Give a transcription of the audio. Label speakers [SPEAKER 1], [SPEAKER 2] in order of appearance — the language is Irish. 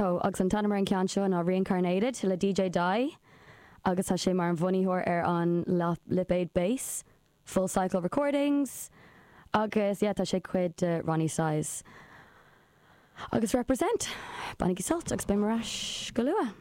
[SPEAKER 1] Oh, agus an t-ainm ar an ceann seo ná Reincarnated le DJ Die agus tá sé mar an bhunaitheoir ar an lipéad Bass, Full Cycle Recordings agus yeah tá sé cuid de Roni Size. Agus Reprazent! Bainigí sult agus beidh mé ar ais go luath.